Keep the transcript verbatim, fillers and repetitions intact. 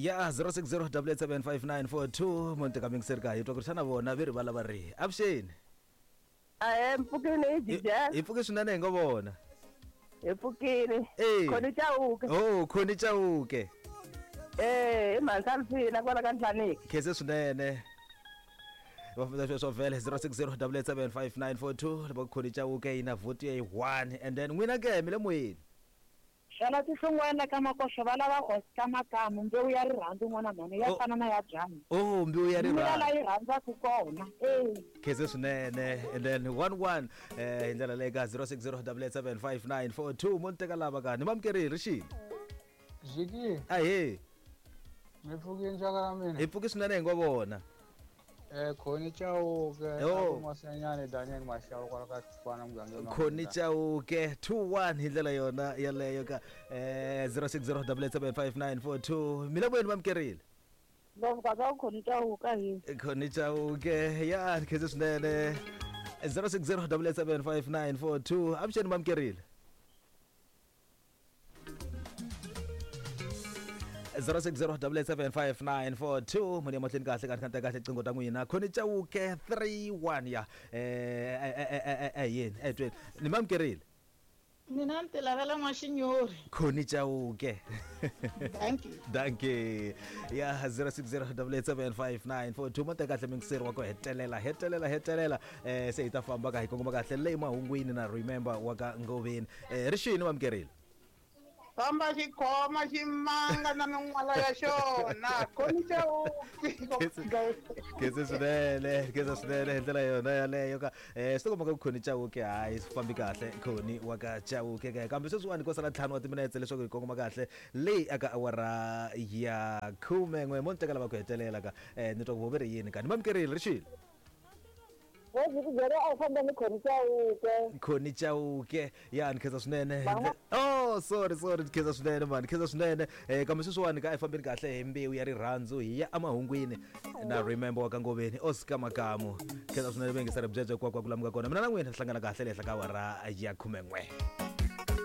Ya zero six zero double eight seven five nine four two mo nteka mingiseri ka hi twa ku ri xana vona ve ri va lava rihi. Avuxeni. Ahee, mpfukile hi Hi hi pfuke swinene hi ngo vona. Hi pfukile. Eh. Khoni Chauke. Oh, Khoni Chauke. Eh, i mhaka Alfina kwala ka Nhlaniki. Khense swinene. Va famba sweswo vhele zero six zero double eight seven five nine four two loko Khoni Chauke yi na vote ya yi one and then n'wina ke mi le moyeni. Xana tihlungwana ka makoxo va lava Oscar Makamu mbewu ya rirhandzu n'wana mhani ya Oh. fana na ya byanyi. Oh, mbewu ya Mina rirhandzu. la yi rhandzaka kona. Eh. Khense swinene and then one one eh hi ndlela leyi ka zero six zero double eight seven five nine four two mo ni teka lava ka ni mamukerile rixini. Ziki, Ahee, mi pfukile nxaka ra mina. hi pfuke swinene hi ngo vona. Eh, Khoni Chauke, Oh. Masanyane Daniel Mashau kwala ka Tswana mugangeni wa Khoni mina. Chauke two one hi ndlela yona yaleyo ka eh zero six zero double eight seven five nine four two mina moyeni mamukerile. Ngopfu ka ka Khoni Chauke hi. Khoni Chauke ya khense swinene zero six zero double eight seven five nine four two avuxeni mamukerile. zero six zero double eight seven five nine four two muni emahlweni kahle ka ni kahle qingho ta n'wina Khoni Chauke three one ya eh eh eh eh yini eh tweni ni mamukerile. Mina ni ti lavela n'waxinyori. Khoni Chauke. Thank you. Dankie. Ya zero six zero double eight seven five nine four two mo teka kahle mingiseri wa ku hetelela hetelela hetelela eh se hi ta famba ka hi kongoma kahle leyi mahungwini na remember wa ka Ngoveni eh rixini mamukerile. Famba xikhoma ximanga na min'wala ya xona. Khoni Chauke. Khense swinene khense swinene hi ndlela yona yaleyo ka eh swi tikomba ka Khoni Chauke hayi swi fambi kahle Khoni wa ka Chauke ka kambe sweswiwani ko sala ntlhanu wa timinetse leswaku hi kongoma kahle leyi aka awara ya khume n'we mo ni teka lava ku hetelela ka eh ni twa ku vo ve ri yini ka ni mamukerile rixini. Byele a wu famba ni Khoni Chauke. Khoni Chauke ya ni khensa swinene. Oh sorry sorry ni khensa swinene man ni khensa swinene eh kambe sweswiwani ka efambeni kahle hi mbewu ya rirhandzu hi ya emahungwini na remember wa ka Ngoveni Oscar Makamu khensa swinene vengisa ri byebye kwa kwa ku lamuka kona mina na n'wina hi hlangana kahle le henhla ka awara ya khume n'we.